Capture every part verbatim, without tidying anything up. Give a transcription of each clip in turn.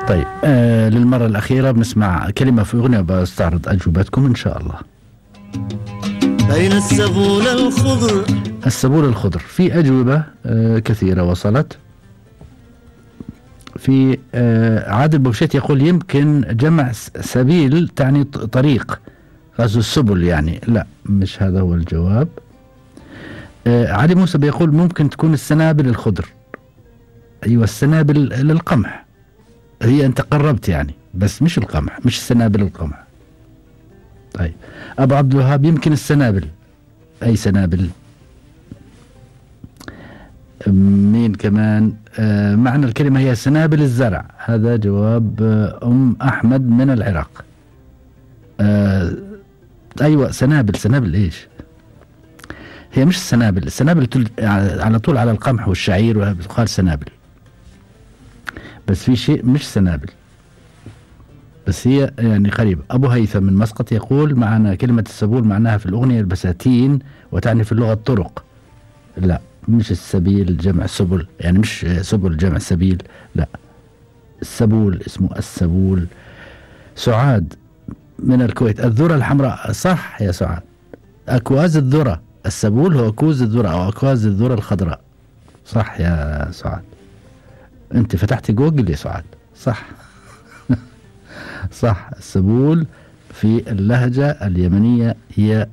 طيب آه للمرة الأخيرة بنسمع كلمة في أغنية وبستعرض أجوبتكم إن شاء الله. بين السبول الخضر. السبول الخضر في أجوبة آه كثيرة وصلت. في آه عادل بوشيت يقول يمكن جمع سبيل تعني طريق، غزو السبل يعني. لا، مش هذا هو الجواب. آه علي موسى بيقول ممكن تكون السنابل الخضر. أيوة، السنابل للقمح. هي أنت قربت يعني، بس مش القمح، مش سنابل القمح. طيب أبو عبد الوهاب يمكن السنابل. أي سنابل؟ مين كمان؟ آه معنى الكلمة هي سنابل الزرع. هذا جواب آه أم أحمد من العراق. آه أيوة سنابل. سنابل إيش؟ هي مش السنابل. السنابل على طول على القمح والشعير وقال سنابل، بس في شيء مش سنابل، بس هي يعني قريب. أبو هيثم من مسقط يقول معنا كلمة السبول معناها في الأغنية البساتين وتعني في اللغة الطرق. لا، مش السبيل جمع سبل، يعني مش سبل جمع سبيل، لا، السبول اسمه السبول. سعاد من الكويت الذرة الحمراء. صح يا سعاد، أكواز الذرة. السبول هو كوز الذرة أو أكواز الذرة الخضراء. صح يا سعاد، أنت فتحت جوجل يا سعاد. صح صح. السبول في اللهجة اليمنية هي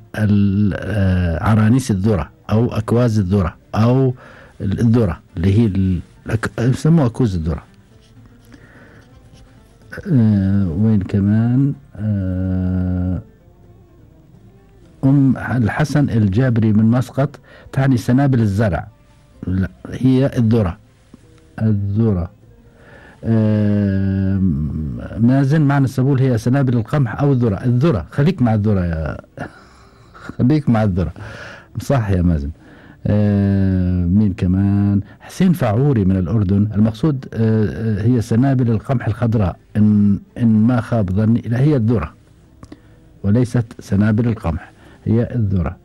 عرانيس الذرة أو أكواز الذرة أو الذرة اللي هي يسموها كوز الذرة. أه وين كمان؟ أه أم الحسن الجابري من مسقط تعني سنابل الزرع. لا، هي الذرة. الذرة. آه مازن معنى السبول هي سنابل القمح أو الذرة. الذرة، خليك مع الذرة يا خليك مع الذرة. صح يا مازن. آه مين كمان؟ حسين فعوري من الأردن المقصود آه هي سنابل القمح الخضراء، إن, إن ما خاب ظني. لا، هي الذرة وليست سنابل القمح، هي الذرة.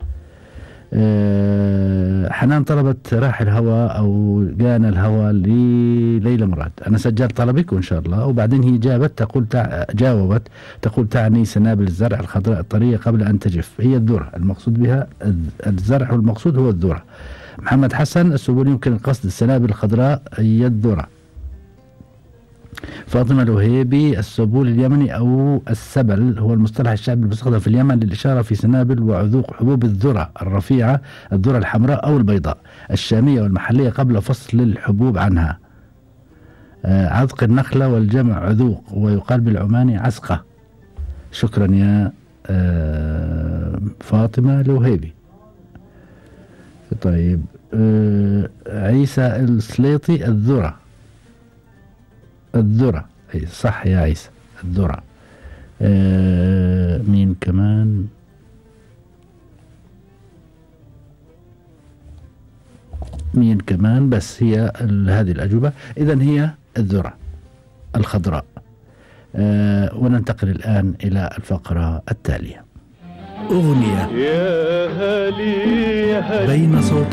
أه حنان طلبت راح الهوى أو جانا الهوى لليلى مراد. أنا سجلت طلبك وإن شاء الله. وبعدين هي جابت تقول تع... جاوبت تقول تعني سنابل الزرع الخضراء الطرية قبل أن تجف. هي الذرة المقصود بها الزرع، والمقصود هو الذرة. محمد حسن السبول يمكن القصد السنابل الخضراء هي الذرة. فاطمة الوهيبي السبول اليمني أو السبل هو المصطلح الشعبي المستخدم في اليمن للإشارة في سنابل وعذوق حبوب الذرة الرفيعة، الذرة الحمراء أو البيضاء الشامية والمحلية قبل فصل الحبوب عنها. آه عذق النخلة والجمع عذوق، ويقال بالعماني عسقة. شكرا يا آه فاطمة الوهيبي. طيب آه عيسى السليطي الذرة. الذرة أي صح يا عيسى، الذرة. آه مين كمان؟ مين كمان؟ بس هي هذه الأجوبة. إذن هي الذرة الخضراء. آه وننتقل الآن إلى الفقرة التالية. أغنية يا هالي يا هالي بين صوت